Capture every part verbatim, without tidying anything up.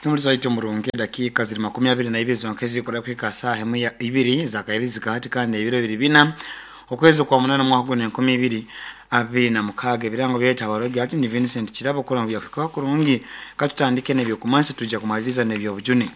Tumuli murungi dakika ziri makumi abiri na ibiri zonke zikora kwika saa hemu ya ibiri zakairi zikahatika n'ebiro bibiri bina okwezi kwa munana mwaka guno enkumi ibiri abiri na mukaaga. Ebirango byeta abarogi ati ni Vincent Kirabo kola byakwika kurungi. Katutandike n'ebyokumansi tujja kumaliriza n'ebyobujune.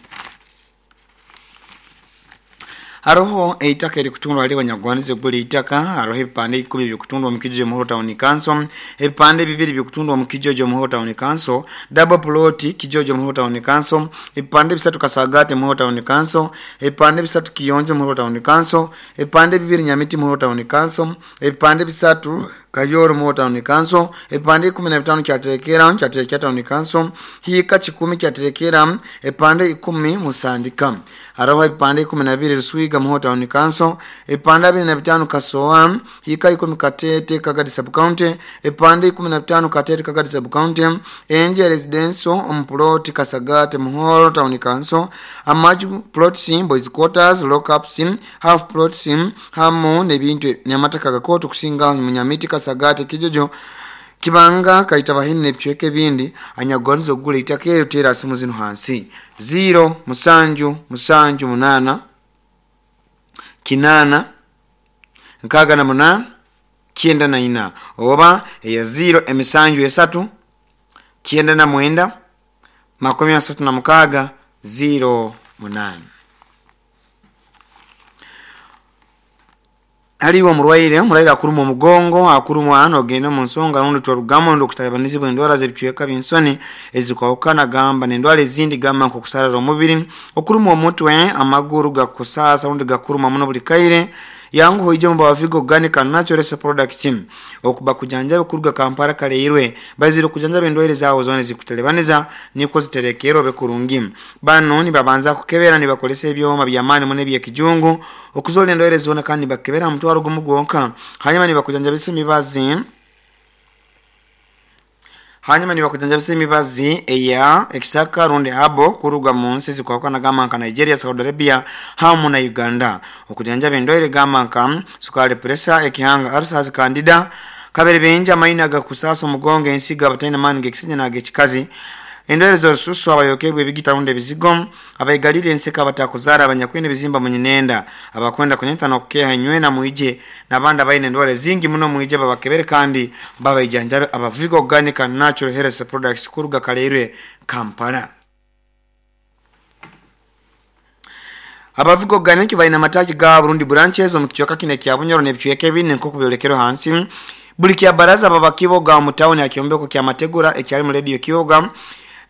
Haroho eitaka erikutundwa ali banyagwandize guli itaka. Haroho ebipande ikumi byokutundwa mu Kijojo Muhoro Town Council, ebipande bibiri byokutundwa mu Kijojo Muhoro Town Council, double plot Kijojo Muhoro Town Council, ebipande bisatu Kasagate Muhoro Town Council, ebipande bisatu Kiyonjo Muhoro Town Council, ebipande bibiri Nyamiti Muhoro Town Council, ebipande bisatu Kayoro Muhoro Town Council, ebipande ikumi na bitano kyaterekera kyaterekera Town Council, hika kikumi kyaterekera, ebipande ikumi Musandika. Haraho ebipande ikumi na bibiri Ruswiga Muhoro Town Council, ebipande abiri na bitano Kasoa, hika ikumi Katete Kagadi Sub County, ebipande ikumi na bitano Katete Kagadi Sub County, Enje Residential Omplot Kasagate Muhoro Town Council, amaju plots boys quarters lockups half plots hamu n'ebintu n'amataka gakoto kusinga Munyamiti Kasagate Kijojo Kibanga Kaita Bahini n'ebicweka ebindi. Anyagwandiza okugula eitaka eryo teera simu zino hansi zero musanju musanju munana kinana nkaaga na munana kyenda na ina oba eya zero emisanju esatu kyenda na mwenda makumi asatu na mukaaga zero munana. Haliwo omurwaire omurwaire akuruma omugongo akurumwa hano ogenda mu nsonga rundi twarugamo ndo kutalabanizibwa endwara z'ebicweka by'ensoni ezikwawukana gamba n'endwara ezindi gamba nk'okusarara omubiri, okurumwa omutwe, amaguru gakusasa rundi gakuruma muno buli kaire. Yangu hoije mu bavigo organic and natural products okuba kujanjaba kuruga Kampala kaleirwe baziro kujanjaba endwaire zawo zone zikutalebaniza niko ziterekero bekurungi. Bano ni babanza kukebera ni bakolesa ebyoma byamani mune bya kijungu okuzola endwaire zona kandi bakebera mutwaro gumugonka hanyuma ni bakujanjabisa emibazi hanyuma ni bakujanjabisa emibazi eya ekisaka rundi abo kuruga mu nsi zikwakana gamba nka Nigeria, Saudi Arabia hamu na Uganda. Okujanjaba endwaire gamba nka sukari, pressure, ekihanga, ulcers, candida, kabere benja amaina gakusasa omugongo, ensiga abataina maani g'ekisajja n'ag'ekikazi, endwaire z'orususu, abayokebwa ebigita rundi ebizigo, abayigalire enseka, abatakuzaara, abanyakwine ebizimba munyinenda, abakwenda kunyeta n'okukeha enywena mwije n'abandi abaine endwara zingi muno mwije babakebere kandi babaijanjabe. Abavigo Organic and Natural Health Products kuruga Kaleirwe Kampala. Abavigo Organic balina amatagi ga Burundi branches omu kicweka kino ekya Bunyoro n'ebicweka ebindi nk'oku byolekerwa hansi. Buli kya baraza baba Kiboga mu tawuni ya Kyombeko kya Mategura ekyali mu radio Kiboga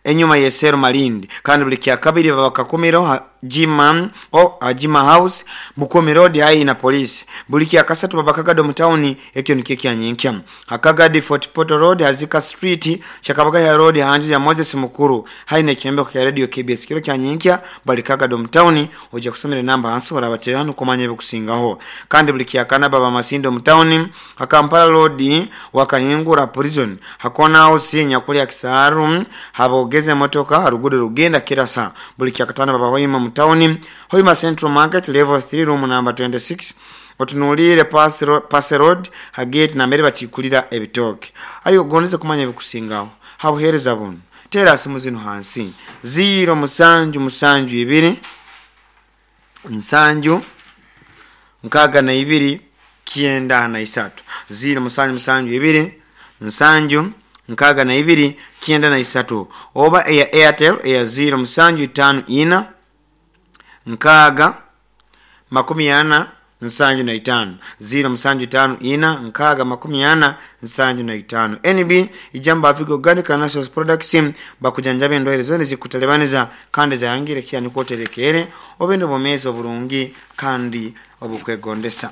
enyuma ye Sero Malindi, kandi buli kya kabiri baba Kakumiro Jima o Jima House Bukomi Road hai na polisi. Buli kya kasatu baba Kagado mu tawuni ekyo nikyo kyanyinkya Hakagadi Fort Portal Road Hazika Street Chakabagaya Road hanju ya Moses Mukuru hai na Kyombeko kya radio K B S kiro kyanyinkya bali Kagado mu tawuni. Ojja kusomera namba hansi orabaterano kumanya ebikusingaho. Kandi buli kya kana baba Masindo mu tawuni Hakampala Road Wakahingura Prison Hakona House Nyakuli ya Kisaru habogeze motoka rugudo rugenda kirasa. Buli kya katano baba Hoima mu tawuni Hoima Central Market level three room number twenty-six otunuulire Pass Road hagate nambere bakikulira ebitoke. Ayo gondeze kumanya ebikusingaho habuhereza buno tera simu zino hansi zero musanju musanju ibiri nsanju nkaaga na ibiri kyenda na isatu zero musanju musanju ibiri nsanju nkaaga na ibiri kyenda na isatu oba eya Airtel eya zero musanju itano ina nkaaga makumi ana nsanju na itano zero musanju itano ina nkaaga makumi ana nsanju na itano. N B ijamba Avigo Organic and Natural Products bakujanjaba endwaire zone zikutalebaniza kandi zayangire kya nikoterekere obende bomezi oburungi kandi obukwegondesa.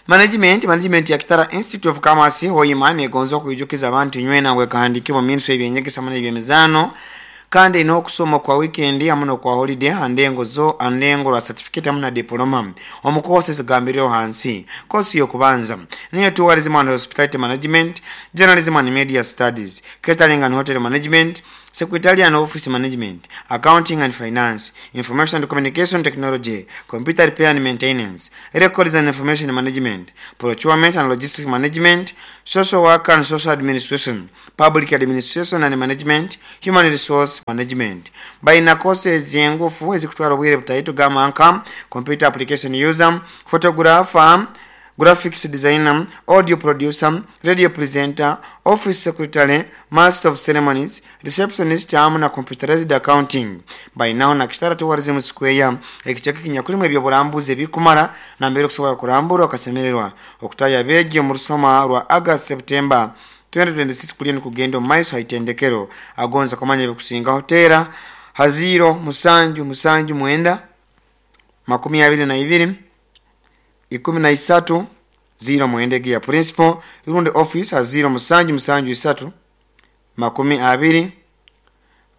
Management management ya Kitara Institute of Commerce Hoima negonza okuijukiza abantu nywena ngwe kahandikibwa ministry ebyenyegesa mana ebyemizano Kandi n'okusoma kwa weekend hamu n'okwa holiday handengo zo andengo rwa certificate hamu na diploma. Omu courses zigambireho hansi. Kosi y'okubanza niyo tourism and hospitality management, journalism and media studies, catering and hotel management, secretarial and office management, accounting and finance, information and communication technology, computer repair and maintenance, records and information management, procurement and logistics management, social work and social administration, public administration and management, human resource management. Baina courses engufu ezikutwara obwire butaito gamba nka computer application user, photographer, graphics designer, audio producer, radio presenter, office secretary, master of ceremonies, receptionist hamu na computerized accounting. Bainaho na Kitara Tourism Square ekicweka ekinyakulimu ebyoburambuzi ebikumara nambere okusobola kurambura okasemererwa. Okutaya abeegi omu rusoma rwa August September twenty twenty-six kuliyo nikugenda omu maiso haitendekero. Agonza kumanya ebikusingaho teera ha ziro musanju musanju mwenda makumi abiri na ibiri ikumi na isatu ziro mwenda ya principal rundi office ha ziro musanju musanju isatu makumi abiri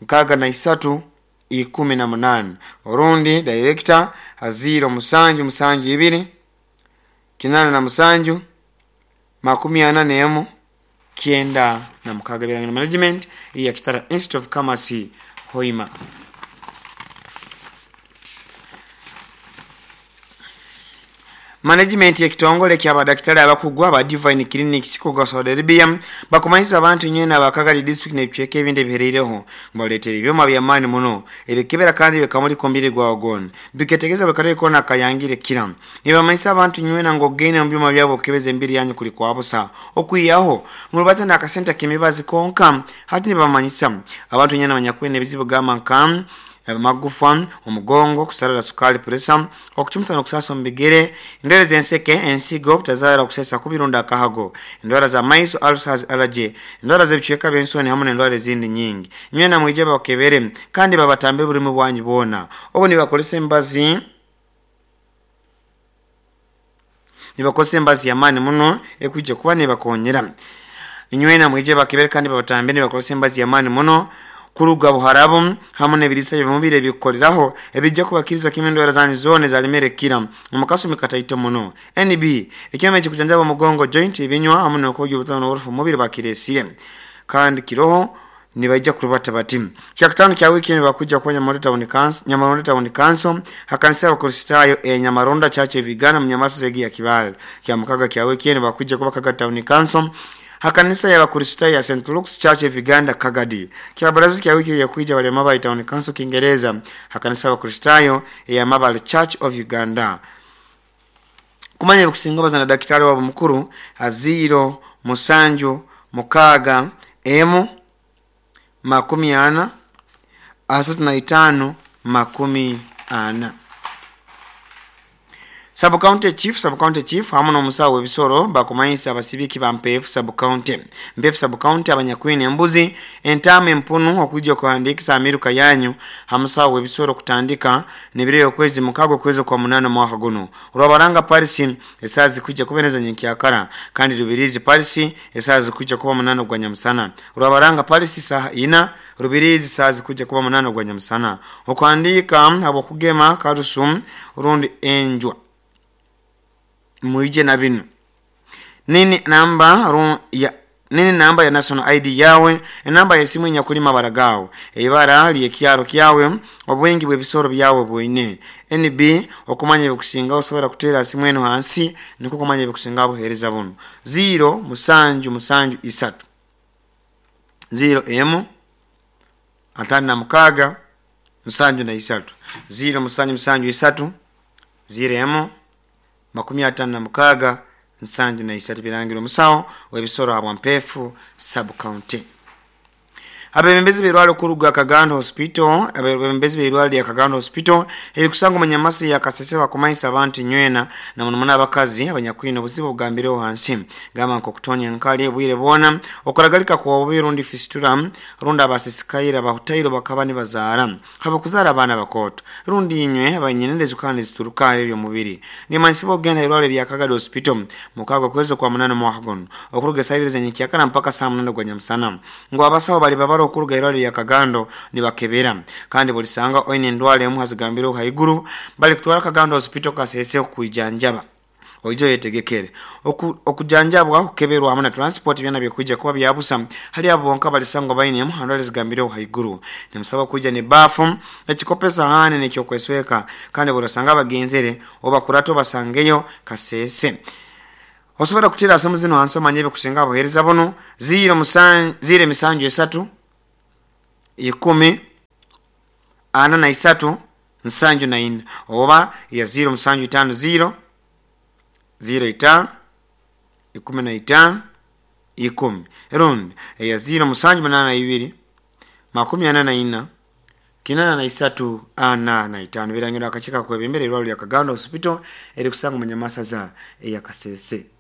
nkaga na isatu ikumi na munane orundi director ha ziro musanju musanju ibiri kinana na musanju makumi ana nemu kienda na mukaga. Birangiro management ya Kitara Institute of Commerce Hoima. Management ya kitongole kya abadaktari abakugwa aba Divine Clinics kuga Saudi Arabia bakumanyisa abantu nyena abakagali district n'ebicweka ebindi ebihereireho ngabaleetera ebyoma by'amaani muno ebikebera kandi bikamuli kombiri gwa gona biketegeza bakare kona kayangire kira. Nibamanyisa abantu nywena ngogene mu byoma byabo okebeza embiri yanyu kuli kwa busa okwiyaho murubata n'akasenta kemibazi konka. Hati nibamanyisa abantu nyena abanyakwene ebizibu gamba nka magufa, omugongo, kusarara sukali, pressure, okuchumita n'okusasa mu bigere, endwara z'enseke, ensigo, obutazaara, okusesa kubirunda akahago, endwara za maiso, ulcers, allergy, endwara z'ebicweka by'ensoni hamu n'endwara ezindi nyingi. Nywena mwije bakebere kandi babatambe buli mu bwanyu bwona. Obu nibakolesa embazi nibakolesa embazi y'amaani muno ekwijja kuba nibakonyera. Nywena mwije bakebere kandi babatambe nibakolesa embazi y'amaani muno kuruga buharabu hamu n'ebirisa by'omubiri ebikoleraho ebijja kubakiriza kimwe endwara zanyu zona zalimere kira omu kataito muno. N B ekyoma ekikujanjaba omugongo, joint, ebinywa hamu n'okwogya obutano n'oburufu mu mubiri bakiresire kandi kiroho nibaija kurubata bati. Kyakutano kya wiki nibakuja kwa Nyamaronda Town Council, Nyamaronda Town Council hakanisa y'Abakristayo e Nyamaronda Church Vigana Munyamasa zegi ya Kibale. Kya mukaga kya wiki nibakuja kuba Kaga Town Council hakanisa y'Abakristayo ya Saint Luke's Church of Uganda Kagadi. Kya baraza kya wiki yakuija bali Mabale Town Council Kiingereza hakanisa y'Abakristayo ya Mabale Church of Uganda. Kumanya kusinga bazana daktari wabo mukuru aziro musanju mukaga emu makumi ana asatu na itano makumi ana. Sub County Chief, Sub County Chief hamu n'omusawo w'ebisoro bakumanyisa abasibiki ba Mpeefu Sub County. Mpeefu Sub County abanyakwine embuzi, entaama, empunu okujja okuhandiikisa amiruka yanyu hamusawo w'ebisoro kutandika n'ebiro y'okwezi mukago okwezi kwa munana mwaka guno. Rwabaranga Paris esaaha zikwijja kuba nyenkyakara kandi Rubirizi Paris esaaha zikwijja kuba munana gwa nyamusana. Rwabaranga Paris saaha ina, Rubirizi saaha zikwijja kuba munana gwa nyamusana. Okuhandiika habw'okugema karusu rundi enjwa muije na binu nini namba ru ya nini namba ya national I D yawe, enamba y'esimu enyakulima baragawo, ebara ly'ekyaro kyawe, obwingi bw'ebisoro byawe bwine. N B okumanya ebikusinga osobola kuteera simu eno hansi nikwo kumanya ebikusinga buheereza buno. Zero musanju musanju isatu zero emu atano na mukaaga musanju na isatu zero musanju musanju isatu zero emu makumi atano na mukaaga nsanju na isatu. Birangiro omusawo w'ebisoro habwa Mpeefu Sub County. Abebembezi b'irwaliro kuruga Kagando Hospital, abebembezi b'irwaliro lya Kagando Hospital erikusanga omu Nyamasi ya Kasese bakumanyisa abantu nywena na muno muno abakazi abanyakwine obuzibu obugambireho hansi gamba nk'okutonya enkali obwire bwona okuragalika kwa obubi rundi fistula rundi abasisikaire abahutairo bakaba nibazaara habakuzaara abaana bakooto rundi inywe abanyinende zikaba nizituruka eby'omubiri. Nimanyisibwa okugenda irwaliro lya Kagando Hospital mukaaga okwezi kwa munana mwaka guno okuruga esaaha ibiri z'enyenkyakara mpaka saa munana gwa nyamusana ngu abasawo bali babaro okuruga irwaliro lya Kagando nibakebera. Kandi bulisanga oine endwara emu hazigambireho haiguru, bali kutwara Kagando Hospital Kasese okukwijanjaba. Oije oyetegekere Oku, okujanjabwa, okukeberwa hamu na transport byona bikuija kuba byabusa hali abo bonka balisangwa baine emu handwara zigambireho haiguru. Nimusaba kuija ne bafu, ekikopo, esahani nekyokwesweka. Kandi burasanga abagenzere obakurata obasangeyo Kasese. Osobola kutira simu zino hansi omanye ebikusinga abuhereza bunu: ziro musan ziro emisanju esatu ikumi ana na isatu nsanju na ina, oba ya ziro musanju itano ziro ziro itano ikumi na itano ikumi, rundi eya ziro musanju munana ibiri makumi ana na ina kinana na isatu ana na itano. Birangirwa akakiiko kakwebembera irwaliro lya Kagando Hospital erikusanga omu Nyamasaza eya Kasese.